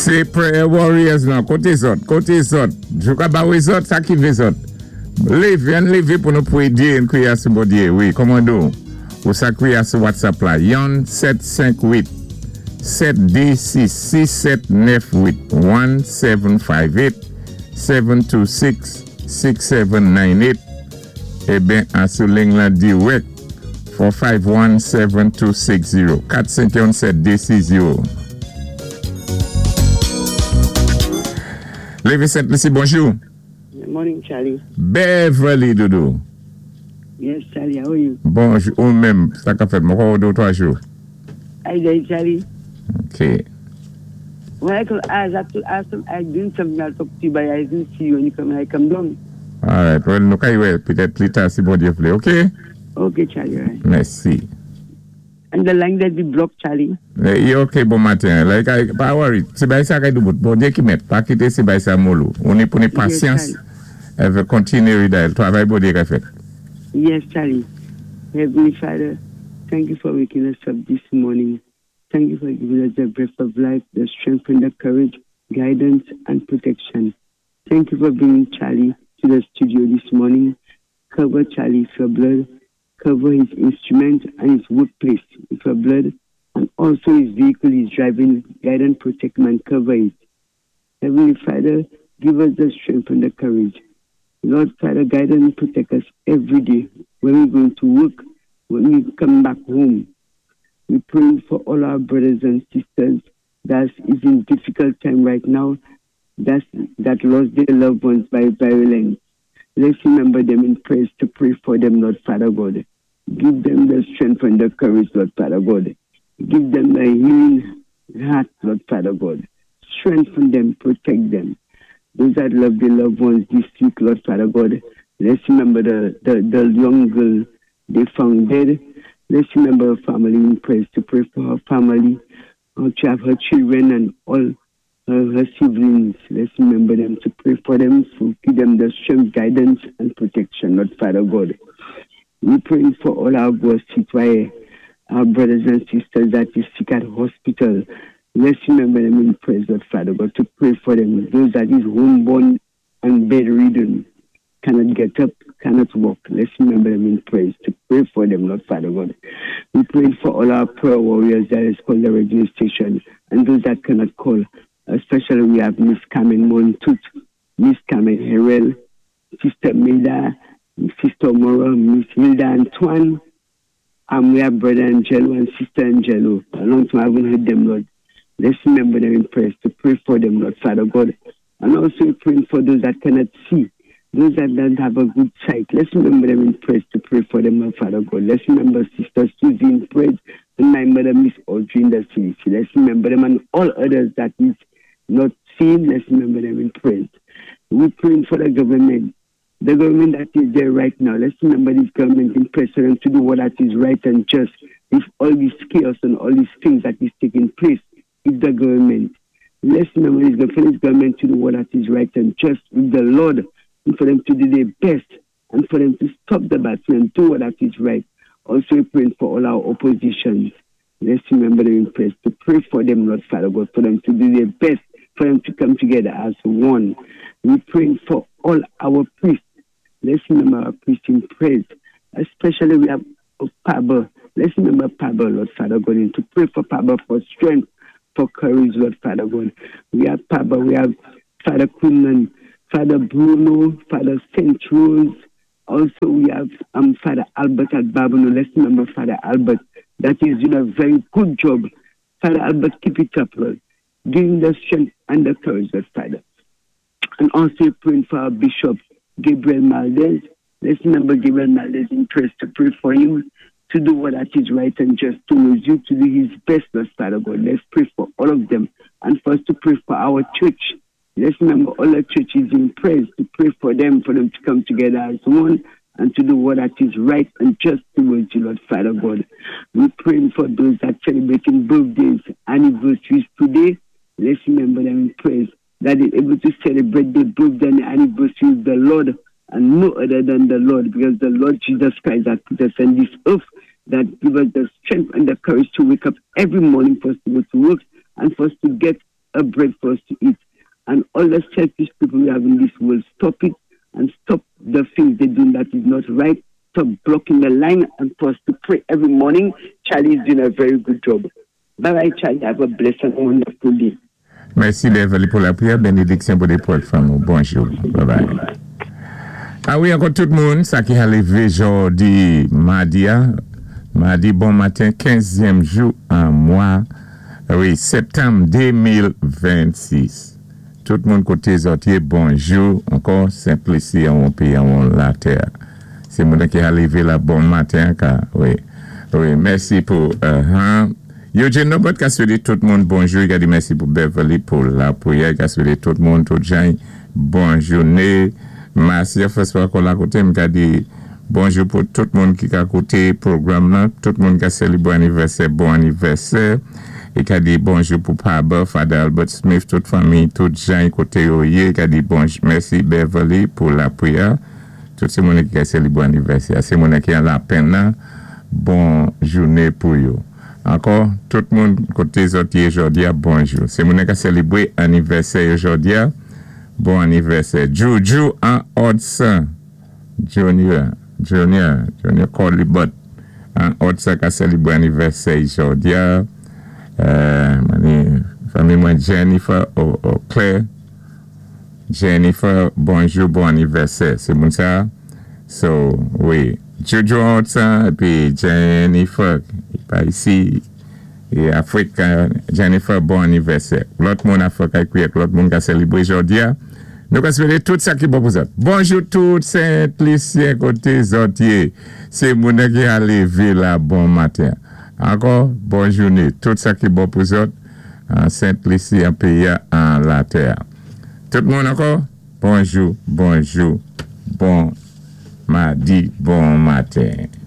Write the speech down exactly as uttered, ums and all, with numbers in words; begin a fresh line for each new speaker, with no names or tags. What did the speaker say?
Sé Prayer Warriors lan, koté zòt, koté zòt. Jou ka ba wè zòt, sa ki vlé zòt. Lévé, ann lévé pou nou pwédyé an kwiyé sou Bondyé. Wi, kòmando. Ou sa kwiyé sou WhatsApp la. Yon sèt senk wit sèt dé sis sis sèt nèf wit. One seven five eight seven two six six seven nine eight. Eben, an sou ling lan direct four five one seven two six zero. Kat senk yon sèt dé sis zewo. Lévis Sainte-Lucie, bonjou.
Good morning, Charlie.
Beverly Doudou.
Yes, Charlie, how are you?
Bonjou, ou menm, sa ka fèt, mwen kwè dé ou twa jou.
How you doing, Charlie?
OK.
When I call, I have to ask them, I doing something, I'll talk to you, but I didn't see you when you come, I come down.
All right, well, nou ka wè, petèt pli ta si Bondyé vlé, OK?
Okay, Charlie, all right.
Mèsi.
And the line that be blocked, Charlie.
Eh, ok, bon maten. Like, I, pa worry. Sé bay sa kay doubout. Bondyé ki mèt. Pa kité sé bay sa moul ou. Ou ni pou ni pasyans.
Yes,
Èvé kontiné redial. Twavay Bondyé ka fèt.
Yes, Charlie. Heavenly Father, thank you for waking us up this morning. Thank you for giving us the breath of life, the strength and the courage, guidance and protection. Thank you for bringing Charlie to the studio this morning. Cover Charlie with your blood. Cover his instrument and his workplace with your blood, and also his vehicle he's driving. Guide and protect him and cover it. Heavenly Father, give us the strength and the courage. Lord Father, guide and protect us every day when we go to work, when we come back home. We pray for all our brothers and sisters that is in difficult time right now, that's, that lost their loved ones by violence. Let's remember them in prayers to pray for them, Lord Father God. Give them the strength and the courage, Lord Father God. Give them the healing heart, Lord Father God. Strengthen them, protect them. Those that love their loved ones this week, Lord Father God, let's remember the, the, the young girl they found dead. Let's remember her family in prayers to pray for her family, her, to have her children and all her, her siblings. Let's remember them to pray for them, to give them the strength, guidance, and protection, Lord Father God. We pray for all our citoyens, our brothers and sisters that is sick at hospital. Let's remember them in prayers, Lord Father God, to pray for them. Those that is homeborn and bedridden, cannot get up, cannot walk. Let's remember them in prayers, to pray for them, Lord Father God. We pray for all our prayer warriors that is called the radio station and those that cannot call. Especially we have Miss Carmen Montut, Miss Carmen Herrell, Sister Milda, Sister Mora, Miss Hilda Antoine, and we have Brother Angelo and Sister Angelo. A long time I haven't heard them, Lord. Let's remember them in prayers, to pray for them, Lord Father God. And also praying for those that cannot see, those that don't have a good sight. Let's remember them in prayers, to pray for them, Lord Father God. Let's remember Sister Susie in prayers and my mother, Miss Audrey in the city. Let's remember them and all others that is not seen. Let's remember them in prayers. We're praying for the government, the government that is there right now. Let's remember this government in prayers for them to do what that is right and just. With all this chaos and all these things that is taking place with the government. Let's remember this, for this government to do what that is right and just with the Lord, and for them to do their best, and for them to stop the battle and do what that is right. Also praying for all our oppositions. Let's remember them in prayers, to pray for them, Lord Father God, for them to do their best, for them to come together as one. We pray for all our priests. Let's remember our priests in prayers. Especially we have Pablo. Let's remember Pablo, Lord Father God, and to pray for Pablo for strength, for courage, Lord Father God. We have Pablo, we have Father Quinlan, Father Bruno, Father Saint Rose. Also, we have um, Father Albert at Babonneau. Let's remember Father Albert. That is doing a very good job. Father Albert, keep it up, Lord. Give him the strength and the courage, Lord Father. And also praying for our Bishop, Gabriel Maldez. Let's remember Gabriel Maldez in prayers, to pray for him, to do what that is right and just towards you, to do his best, Lord Father God. Let's pray for all of them. And for us to pray for our church. Let's remember all the churches in prayers, to pray for them, for them to come together as one and to do what that is right and just towards you, Lord Father God. We're praying for those that are celebrating birthdays, anniversaries today. Let's remember them in prayers, that they're able to celebrate their birthday and anniversary with the Lord and no other than the Lord, because the Lord Jesus Christ that put us on this earth, that give us the strength and the courage to wake up every morning for us to go to work and for us to get a bread for us to eat. And all the selfish people we have in this world, stop it and stop the things they do that is not right. Stop blocking the line and for us to pray every morning. Charlie is doing a very good job. Bye bye, Charlie. Have a blessed and wonderful day.
Mèsi Beverly pou lapriyè. Benediksyon pou pou fanmi. Bonjou. Bye bye. A wi, ankò tout moun, sa ki a lévé jòdi madi, madi bon maten, kenzyèm jou an mwa, wi, septanm de mil vennsis. Tout moun koté zòt yé, bonjou, ankò, Sentlisi an péyi an latè. Sé moun ki a lévé la bon maten, ka, wi. Wi, mèsi pou, uh, hein. Eugene Norbert ka swété tout moun bonjou, i ka di mèsi pou Beverly, pou lapriyè, ka swété tout moun, tout jan, bon jouné. Marcia François kon la koté, m ka di bonjou pou tout moun ki ka kouté pwogram nan, tout moun ka sélébwé anivèsè, bon anivèsè. I ka di bonjou pou Paba, Father Albert Smith, tout fanmi, tout jan koté yo yé, ka di bonjou, mèsi Beverly pou lapriyè. Tout sé moun ki ka sélébwé anivèsè, sé moun ki an lapenn nan, bon jouné pou yo. Ankò, tout moun koté zòt yé jòdi a, bonjou. Sé moun ki sélébwé anivèsè jòdi a, bon anivèsè. Juju an Hudson, Junior, Junior, Junior Colibot, an Hudson ka sélébwé anivèsè jòdi a. Euh, fanmi mwen Jennifer o, Claire. Jennifer, bonjou, bon anivèsè. Sé moun sa? So, wi. Juju Hudson, épi Jennifer, pa isi, é Afrik, Jennifer, bon anivèsè. Lòt moun Afrik ak lòt moun ka sélébwé jòdi a. Nou ka swété tout sa ki bon pou zòt. Bonjou tout Sent-Lisyen koté zòt yé. Sé moun ki a lévé la bon maten. Ankò, bon jouné. Tout sa ki bon pou zòt, Sent-Lisi, an péyi an latè. Tout moun ankò, bonjou, bonjou, bon madi, bon maten.